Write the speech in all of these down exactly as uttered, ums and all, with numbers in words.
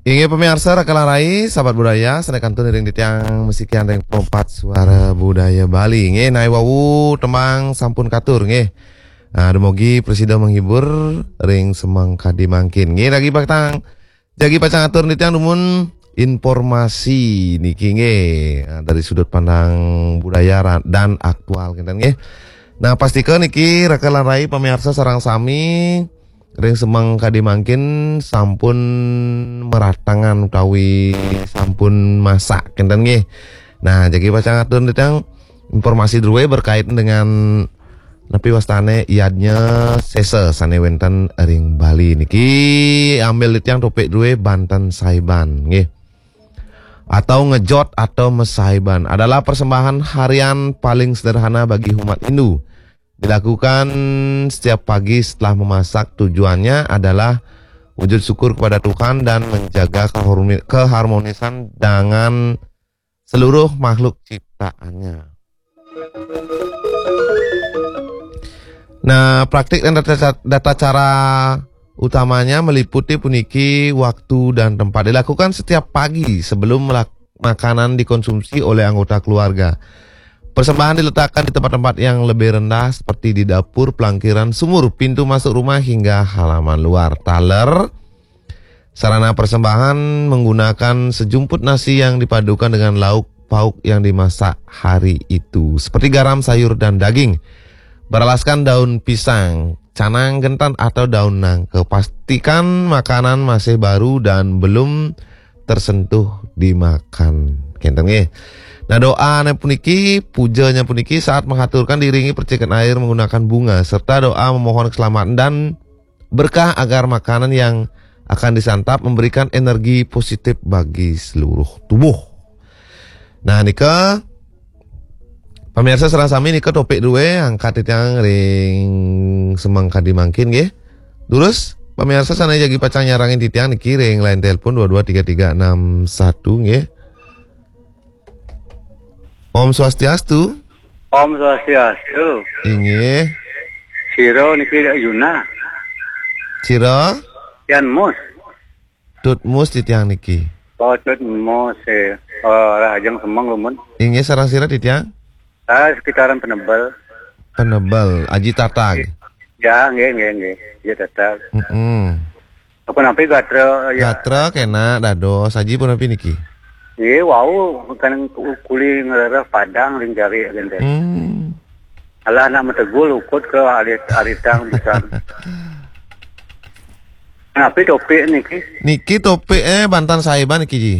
Inggih pamiarsa, raka lan rai, sahabat budaya, sané kantun iring titiang masikian ring Pro empat Suara Budaya Bali. Inggih, naé wau tembang sampun katur, inggih. Nah, dumogi prasida menghibur ring semeng kadi mangkin. Inggih, jagi pacang, jagi pacang atur titiang dumun informasi niki, inggih. Nah, dari sudut pandang budaya ra-, dan aktual kinten, inggih. Nah, pastika niki raka lan rai pamiarsa sareng sami ring semeng kadi mangkin sampun meratangan utawi sampun masak kinten, nggih. Nah, jagi pacang atur titiang informasi drué berkaitan dengan napi wastané yadnya sésa sané wénten ring Bali niki. Ambil titiang topik drué banten saiban, nggih. Atau ngejot atau masaiban adalah persembahan harian paling sederhana bagi umat Hindu. Dilakukan setiap pagi setelah memasak. Tujuannya adalah wujud syukur kepada Tuhan dan menjaga kehormi-, keharmonisan dengan seluruh makhluk ciptaannya. Nah, praktik dan tata, tata cara utamanya meliputi puniki waktu dan tempat. Dilakukan setiap pagi sebelum melak-, makanan dikonsumsi oleh anggota keluarga. Persembahan diletakkan di tempat-tempat yang lebih rendah seperti di dapur, pelangkiran, sumur, pintu masuk rumah hingga halaman luar. Taler, sarana persembahan menggunakan sejumput nasi yang dipadukan dengan lauk pauk yang dimasak hari itu, seperti garam, sayur, dan daging. Beralaskan daun pisang, canang gentan, atau daun nangka. Pastikan makanan masih baru dan belum tersentuh dimakan. Kinten, nggih. Nah, doanya puniki, pujanya puniki saat menghaturkan diiringi percikan air menggunakan bunga serta doa memohon keselamatan dan berkah agar makanan yang akan disantap memberikan energi positif bagi seluruh tubuh. Nah, nika pamiarsa sareng sami, nika topik drué angkat titiang ring semeng kadi mangkin, nggih. Terus pamiarsa sané jagi pacang nyarengin titiang niki ring line telepon dua dua tiga tiga enam satu, nggih. Om Swastiastu. Om Swastiastu. Inggih. Sira niki Yuna. Sira? Yan Mus. Tut Mus titiang niki. Oh, Tut Mus, eh. Oh, Rahajeng Semeng, Lumun. Inggih, sareng sira titiang? Ah, sekitaran Penebel. Penebel, Aji Tatag. Ya, nggih, nggih, nggih. Ya, Tatag. Mm-mm. Apa napi gatra, ya? Gatra kena dados, Aji pun napi niki? Nggih, wau kan kuli ngrereh Padang ring jari, gitu. Hmm. Alah, nak mategul ukut ke alit-, alitang pisan. Napi topik niki? Niki topik, eh, banten saiban niki, Ji.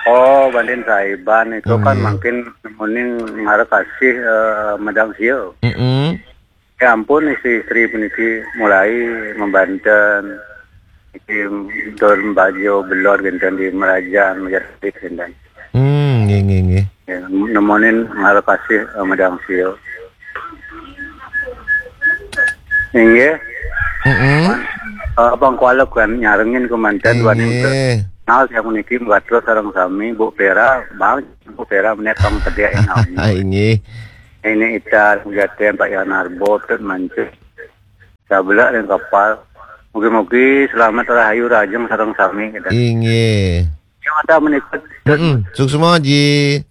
Oh, banten saiban itu kan, hmm, mangkin nemuning ngara kasih, eh, medang sia. Mm-mm. Ya ampun, istri-istri puniki mulai membanten. Iki don bajo belor genten di Merajan, Merajan genten. Hmm, nggih, nggih, nggih. Ya, nemonin ngara kasih, eh, medang sia. Inggih. Mm-mm. Eh, Abang Kuala kan nyarengin kemanten dua, inggih, nal yang niki gatra sareng sami, Bu Pera, Bang, Bu Pera menek kang tedek yang nami. Inggih. Ini Ita, Jaten, Pak Yan Arbo, Tut Mancur. Sabelak ring kapal. Mugi-mugi selamat rahayu rahajeng sareng sami, gitu. Inggih. Yang ada menikut. Mm-mm. Suksma, Ji.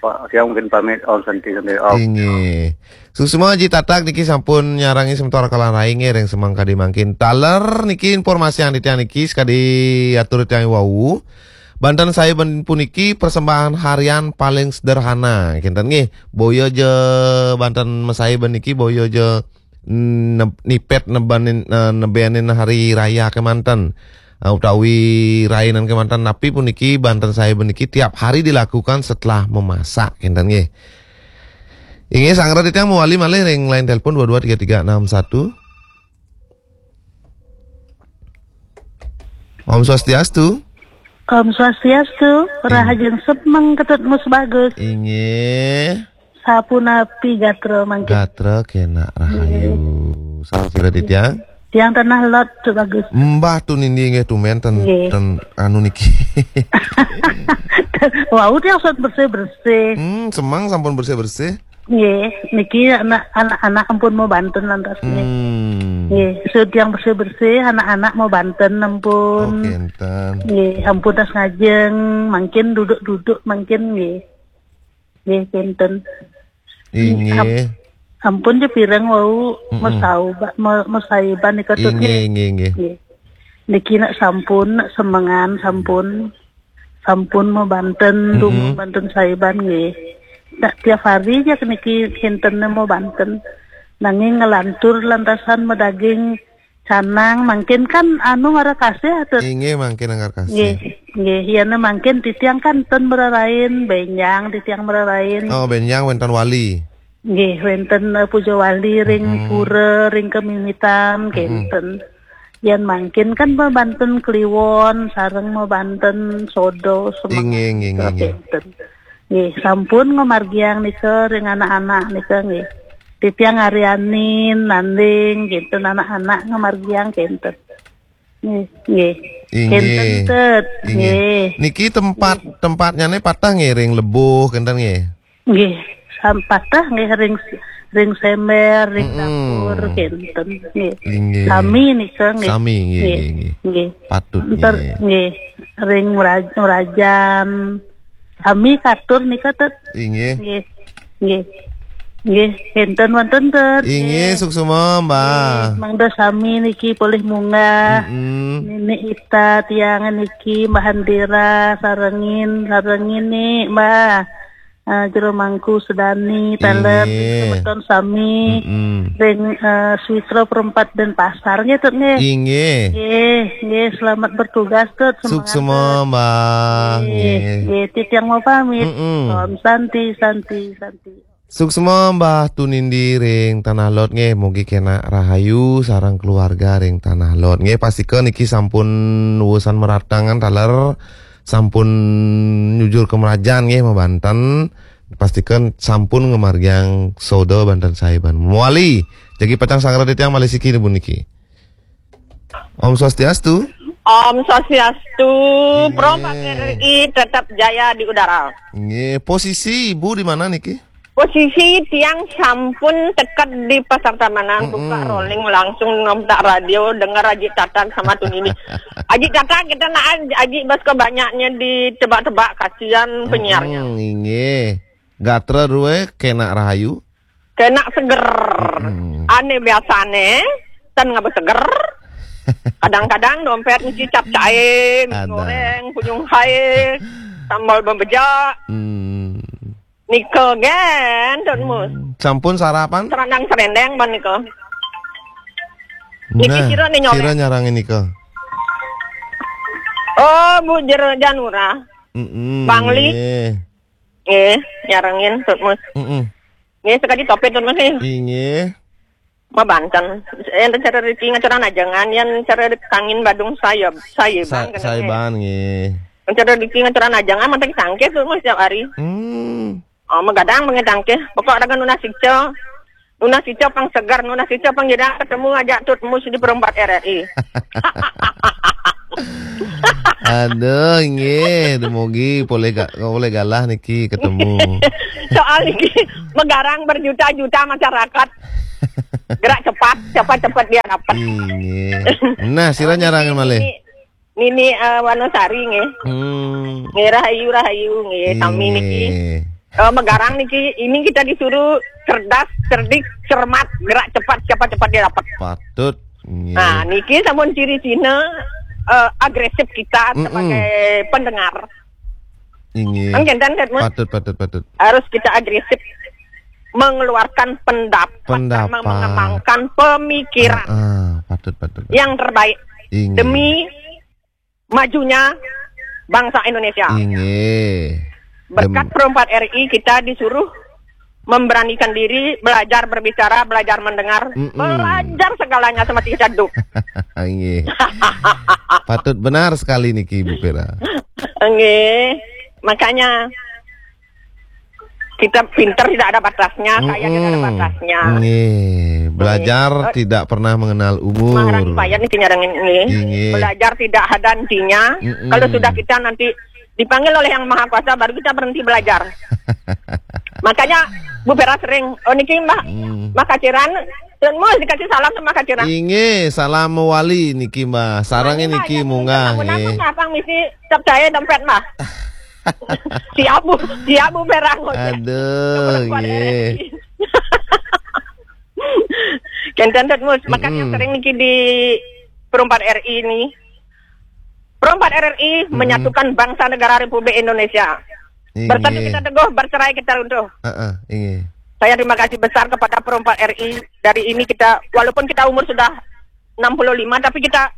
Pak, saya mungkin pamit. Om Santi, Santi, Om. Inggih. Suksma, Ji Tatag niki sampun nyarengi semeton raka lan rai, nggih, ring semeng kadi mangkin. Taler niki informasi yang titiang niki sakadi atur titiang wau. Banten saiban puniki persembahan harian paling sederhana, kinten, nggih. Boya ja banten masaiban niki, boya ja ne-, nipet nebanin, eh, nebenin hari raya kemanten, eh, utawi rainan kemanten, napi puniki banten saiban niki tiap hari dilakukan setelah memasak, kinten, nggih. Inggih, sanggra titiang mawali malih ring line telepon dua dua tiga tiga enam satu. Om Swastiastu. Om Swastiastu, rahajeng semeng Ketut Mus Bagus. Inggih. Sapunapi gatra mangkin? Gatra kena rahayu. Inggih. Sareng sira titiang? Tiang Tanah Lot, Tut Bagus. Mbah, Tut Nindi, nggih, tumben ten, nggih, ten anu niki. Wau tiang sampun bersih-bersih. Hmm, semeng sampun bersih-bersih. Nggih, niki anak, anak-anak ampun mau banten lantas nggih. Hmm. Nggih, suud tiang bersih-bersih, anak-anak mau banten ampun. Oke, enten. Nggih, ampun tas ngajeng, mangkin duduk-duduk mangkin nggih. Nggih, kinten. Inggih. Am-, ampun ja pireng wau, mm-mm, mesauba-, me-, mesaiban nika tut, inggih, nggih, inggih, inggih. Nggih. Niki nak sampun, nak semengan sampun. Sampun mau banten, mm-mm, dung mau banten saiban nggih. Nak tiap hari ja niki kinten mau banten. Nanging ngelantur lantasan medaging canang, mangkin kan anu ngara kasih tut. Inggih, mangkin ngara kasih. Nggih, nggih, yana mangkin titiang kan ten merarain, benjang titiang merarain. Oh, benjang wenten wali. Nggih, wenten, eh, puja wali ring, mm-mm, pura, ring kemimitan, mm-mm, kenten. Yan mangkin kan mau banten kliwon, sareng mau banten sodo, semengan, inggih, inggih, inggih, inggih, kenten. Nggih, sampun ngamargiang nika ring anak-anak nika nggih. Titiang arianin, nanding, kinten anak-anak ngamargiang kinten. Nggih, nggih. Inggih. Kinten tut, inggih, nggih. Niki tempat, nggih, tempatnyane patah nggih ring lebuh kinten nggih. Nggih, sam-, patah nggih ring, ring sember, ring, mm-mm, dapur kinten nggih. Inggih. Sami nika nggih. Sami nggih, nggih, nggih, nggih. Nggih. Patut, enter nggih, nggih. Ring meraj-, merajan. Sami katur nika tut. Inggih. Nggih. Nggih. Nggih, kinten wonten tut. Inggih, nggih, suksma, Mbah. Nggih, mangda sami niki polih munggah. Mm-mm. Nini Ita tiang niki, Mbah Handira, sarengin, sarengin ni, Mbah. Eh, Jero Mangku Sedani, taler, inggih, semeton sami. Mm-mm. Ring, eh, Switra Perempat Denpasar nggih tut nggih. Inggih. Nggih, nggih, selamat bertugas tut, semangat suksma tut, Mbah. Nggih, nggih, nggih, titiang mau pamit. Mm-mm. Om Santi, Santi, Santi. Suksma Mbah Tunindi ring Tanah Lot nggih, mugi kenak rahayu sareng keluarga ring Tanah Lot. Nggih, pastika niki sampun wusan meratangan taler, sampun nyujur ke merajan nggih, mabanten. Pastika sampun ngamargiang soda banten saiban. Mawali, jagi pacang sangra titiang malih siki puniki. Om Swastiastu. Om Swastiastu. Nggih. Pro Pak R R I tetap jaya di udara. Nggih, posisi Ibu di mana niki? Posisi tiang sampun teked di Pasar Tamanan, mm-mm, buka rolling langsung nonton radio, dengar Aji Tatang sama Tunindi. Aji Tatang kita nak Aji bas kebanyaknya ditebak-tebak, kasihan penyiarnya. Mm-mm, inggih. Gatra rue kenak rahayu. Kenak seger. Mm-mm. Ane biasane, ten ngaba seger. Kadang-kadang dompet ngisi capcay, mie, ada, goreng, punyung hai, sambal bebejak. Hmm. Nika gen, Don Mus. Hmm. Sampun sarapan? Serandang serendeng ban nika. Niki, nah, sira ni nyolek. Sira nyarangin nika. Oh, Bu Jero Janura. Mm-mm, Bangli. Nggih. Nggih, nyarengin, Tut Mus. Mm-mm. Nggih, sekadi topik, Tut Mus, nggih. Inggih. Mabanten. Yen cara riki ngacuran ajengan, yen cara kangin Badung saya, saya sa-, bang, kena, saya nggih. Bang, nggih. Yen cara riki ngacuran ajengan, manteng tangkis, Tut Mus, setiap hari. Hmm. Oh, magadang pengen tangkis. Pokok dengan nunas ica. Nunas ica pang segar, nunas ica pang jedang ketemu aja Tut Mus di Perempat R R I. Aduh, nggih, dumugi polih ga-, polih galah niki ketemu. Soal niki magarang berjuta-juta masyarakat. Gerak cepat, cepat-cepat dia dapat. Inggih. Nah, sira nyarang malih. Nini, eh, Wanosari nggih. Hmm. Nggih, rahayu, rahayu nggih, sami niki. Nggih. Eh, magarang niki, ini kita disuruh cerdas, cerdik, cermat, gerak cepat, cepat-cepat dia dapat. Patut. Nggih. Nah, niki sampun ciri cina, eh, agresif kita, mm-mm, sebagai pendengar. Inggih. Kan kenten, Tet, Mus? Patut, patut, patut. Harus kita agresif mengeluarkan pendapat, pendapat, sama mengembangkan pemikiran, ah, ah, patut, patut, patut, yang terbaik. Inggih. Demi majunya bangsa Indonesia. Inggih. Berkat Perempat R I kita disuruh memberanikan diri, belajar berbicara, belajar mendengar, mm-mm, belajar segalanya sama Tika Caduk. Inggih. Patut benar sekali niki, Bu Vera. Nggih. Makanya kita pinter tidak ada batasnya, kaya tidak ada batasnya. Mm-mm. Nggih, belajar, nggih, tidak pernah mengenal umur. Maharani payah nih nyarengin nggih. Inggih. Belajar tidak ada hentinya. Mm-mm. Kalau sudah kita nanti dipanggil oleh Yang Maha Kuasa, baru kita berhenti belajar. Makanya Bu Vera sering, "Oh, niki Mbah, mm, Mbah Kaciran, Tut Mus, dikasih salam sama Kak Cira. Inggih, salam mawali niki, Mbah. Sareng niki munggah, nggih. Ngapang misi cap jahe dompet, Mbah. Siap, Bu. Siap, Bu Perang. Aduh, nggih. Kenten, Tut Mus, makanya sering niki di Pro empat R I ini. Pro empat R I menyatukan bangsa negara Republik Indonesia. Bersatu kita teguh, bercerai kita runtuh. Heeh, inggih. Saya terima kasih besar kepada Pro empat R I. Dari ini kita, walaupun kita umur sudah enam puluh lima, tapi kita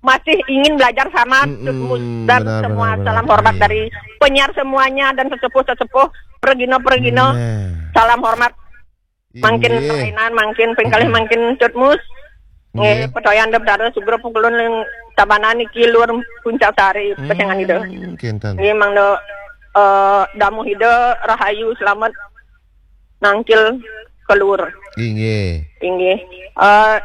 masih ingin belajar sama Tut Mus dan benar, semua. Benar, benar. Salam hormat dari penyiar semuanya dan sesepuh-sesepuh, pergino-pergino. Nah. Salam hormat. Mangkin, inggih, perainan, mangkin pengkalih, mangkin Tut Mus. Nggih, inggih. Pedoyan dep dara sugro pukulun ling tabanan niki luar Puncak Sari, pesengan ida. Kenten. Nggih, mangda, eh, damuh ida rahayu, selamat nangkil keluar. Inggih. Inggih. Eh,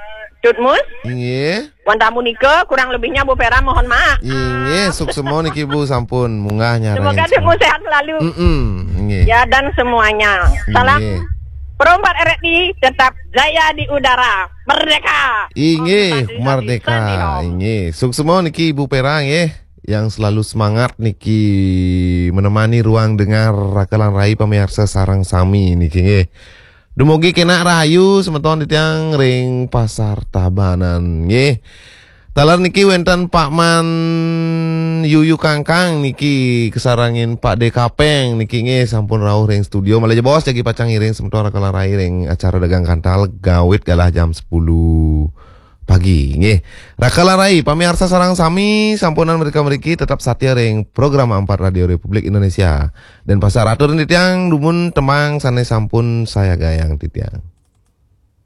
Tut Mus? Inggih. Wantah punika, kurang lebihnya Bu Vera mohon maaf. Inggih, suksma niki Bu, sampun munggah nyarengin. Semoga Tut Mus sehat selalu. Mm-mm, inggih. Ya, dan semuanya. Salam Pro empat R I tetap jaya di udara. Merdeka. Inggih, merdeka. Inggih, suksma niki Bu Vera nggih, yang selalu semangat niki menemani ruang dengar Raka lan Rai pamiarsa sareng sami niki nggih. Dumugi kenak rahayu semeton titiang ring Pasar Tabanan nggih. Taler niki wenten Pak Man Yuyu Kangkang niki kasarengin Pak De Kapeng niki nggih, sampun rauh ring studio. Malih jebos jagi pacang ngiring semeton Raka lan Rai ring acara Dagang Kantal ngawit galah jam sepuluh pagi nggih. Raka lan Rai, pamiarsa sareng sami, sampunang mrika mriki tetep satia ring Programa Empat Radio Republik Indonesia. Denpasar, atur titiang dumun tembang sane sampun sayagayang titiang.